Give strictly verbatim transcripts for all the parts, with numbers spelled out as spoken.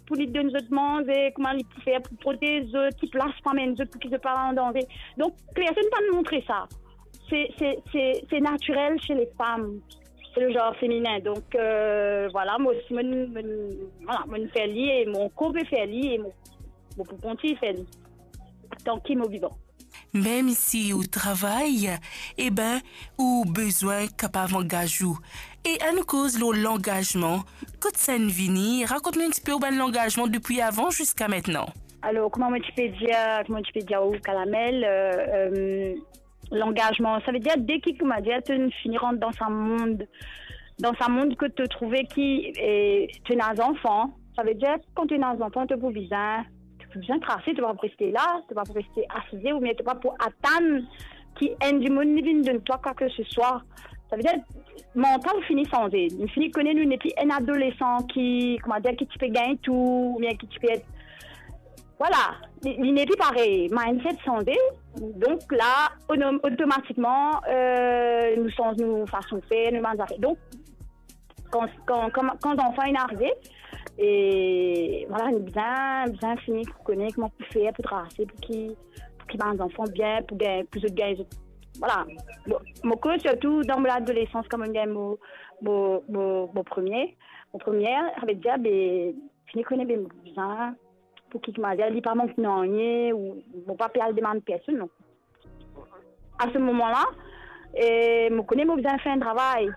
pou li donn zot manze, kouma li pou fer pou protez zot, ki plas pou amenn zot, pou ki zot pa an danze. Donk, personn pa montre sa. Se, se, se, se natirel se lefam, se le genre feminin. Donk, euh, vwala, mo osi, mo, mo, vwala, mo fer li e mo ankor pe fer li e mo, mo pou kontign fer li, tanki mo vivan. Mem si ou travay, eben, ou bizin kapav angaz ou. E annou koz lor langazman, kot sa inn vini, rakont nou enn tipe ou bann langazman depi avan ziska aster. Alor, kouma mo ti pe dir, kouma mo ti pe dir ou, Kalamel, euh, euh, langazman, savedir, deki, kouma dir, to fini rant dan sa mond, dan sa mond kot to trouve ki, eh, to ena zanfan, savedir, kan to ena zanfan, to pou bizin, to pou bizin trase, to pa pou reste la, to pa pou reste asize, oubien to pa pou atann ki enn dimoun li vinn donn twa kwa ke se swa. Savedir, mantal fini sanze. Nou fini kone nou nepli enn adolesan ki, kouma dir, ki ti pe gagn tou, oubien ki ti pe et, vwala, li, li nepli parey. Mindset sanze. Donk la, onom-, otomatikman, euh, nou sanz nou fason fer, nou bann zafer. Donk, kan, kan, kan, kan zanfan inn arive, e vwala, nou bizin, bizin fini pou kone kouma pou fer pou trase, pou ki, pou ki bann zanfan bien, pou gagn, pou zot gagn zot, vwala. Bon, mo koz sirtou dan mo ladolesans, kan mo gagn mo, mo, mo, mo premie, mo premie, savedir, be, fini kone, be, mo bizin, pou ki, kouma dir, li pa mank nanye, ou mo pa pe al demann personn, non. A se moman la, eh, mo kone mo bizin fer enn travay.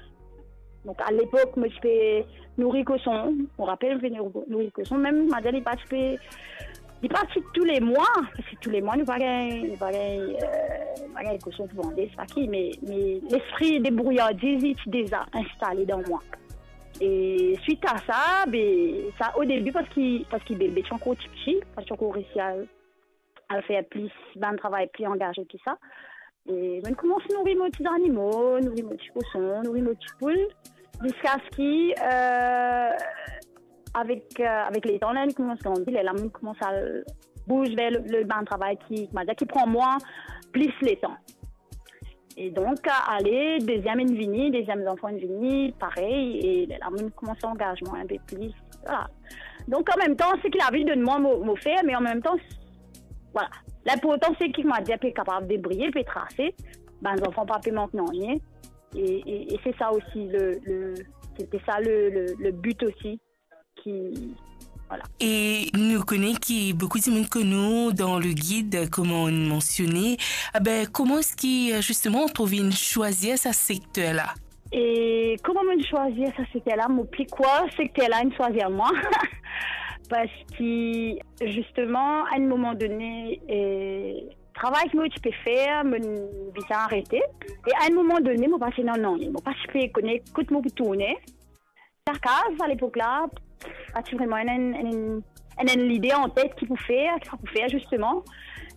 Donk, a lepok, mo ti pe nouri koson. Mo rapel, mo pe nouri, nouri koson. Mem, kouma dir, li pa ti pe, li pa ti tou le mwa, parski tou le mwa, nou pa gagn, nou pa gagn, euh, nou pa gagn koson pou vande, sa ki, me, me lespri debrouyardiz, li ti deza instale dan mwa. E swit a sa, be, sa o debi, parski, parski bebe ti ankor tipti, pa ti ankor resi al al fer plis, bann travay pli angaze ki sa. E mo'nn koumans nouri mo ti zanimo, nouri mo ti koson, nouri mo ti poul, ziska ski, euh, avek, euh, avek letan, ler li koumans grandi, lerla mo'nn koumans al bouz ver le, le bann travay ki, kouma dir, ki pran mwa plis letan. E donk, ale, deziem inn vini, deziem zanfan inn vini, parey, e lerla mo'nn koumans angaz mwa inpe plis, vwala. Donk, an mem tan, seki lavi donn mwa, mo, mo fer, me an mem tan, vwala. Linportan, seki, kouma dir, pe kapav debriye, pe trase, bann zanfan pa pe mank nanye. E, e, e se sa osi le, le, se, se sa le, le, le bi osi. Ki, vwala. E nou kone ki boukou dimoun konn ou dan le gid, kouma nou mansione. Abe, kouma eski, zisteman, ou trouv inn swazir sa sekter la? E kouma mo'nn swazir sa sekter la? Mo pli krwar sekter la inn swazir mwa. Parski, zisteman, a enn moman done, e, travay ki mo ti pe fer, mo'nn bizin arete. E a enn moman done, mo pa ti ena nanye. Mo pa ti pe kone kot mo pou tourne. Lakaz, a lepok la, pa ti vreman ena enn, enn, enn, enn lide an tet ki pou fer, ki sa pou fer, zisteman.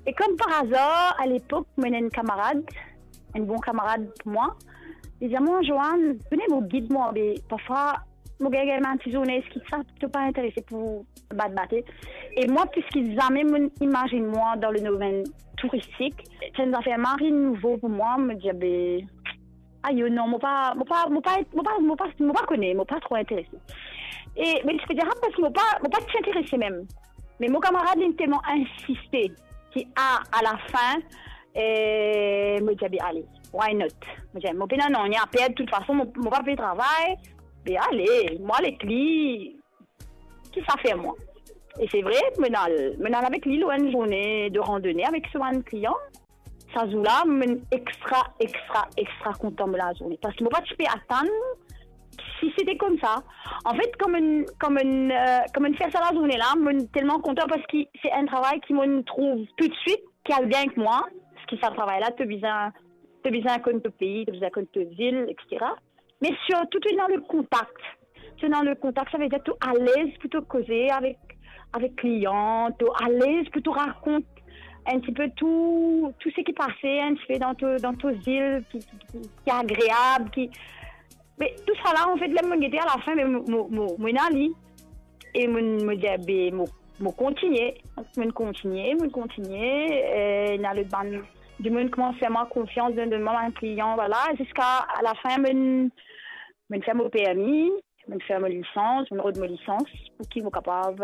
E kom par azar, a lepok, mo ena enn kamarad, enn bon kamarad pou mwa. Li dir mwa, "Joanne, vini mo gid mwa, be, parfwa, mo gagn, gagn bann ti zourne, eski sa, to pa interese pou bat bate?" E mwa, plis ki zame, mo'nn imazinn mwa dan le domenn touristik. Ti enn zafer mari nouvo pou mwa, mo dir, be, ayo, non, mo pa, mo pa, mo pa, mo pa, mo pa, mo pa kone, mo pa tro interese. E, me ti pe dir sa parski mo pa, mo pa ti interese mem. Me mo kamarad, li telman insiste ki a, a lafin, e, mo dir, be, ale, why not? Mo dir, mo pena nanye a perd, toutfason, mo, mo pa pe travay, be, ale, mo al ek li, ki sa fer mwa. E se vre, mo'nn al, mo'nn al avek li lor enn zourne de randone avek so bann klian. Sa zour la, mo'nn extra, extra, extra kontan mo lazourne. Parski mo pa ti pe atann si sete koumsa. Anfet, kan mo'nn, kan mo'nn, euh, kan mo'nn fer sa lazourne la, mo'nn telman kontan parski se enn travay ki mo'nn trouv toutswit ki al bien ek mwa. Parski sa travay la, to bizin, to bizin konn to pei, to bizin konn to zil, et cetera. Me sirtou, to ena le kontak. To ena le kontak, savedir to alez pou to koze avek, avek klian, to alez pou to rakont enn tipe tou, tou seki pase enn tipe dan to, dan to zil ki, ki, ki, ki agreab, ki, me tou sa la, anfet, ler mo'nn gete alafin, me mo, mo, mo, mo ena li. E mo'nn, mo dir, be, mo, mo kontigne. Mo'nn kontigne, mo'nn kontigne. E, ena lot bann dimoun koumans fer mwa konfians, donn, donn mwa bann klian, vwala. Ziska alafin, mo'nn, mo'nn fer mo permi, mo'nn fer mo lisans, mo'nn rod mo lisans, pou ki mo kapav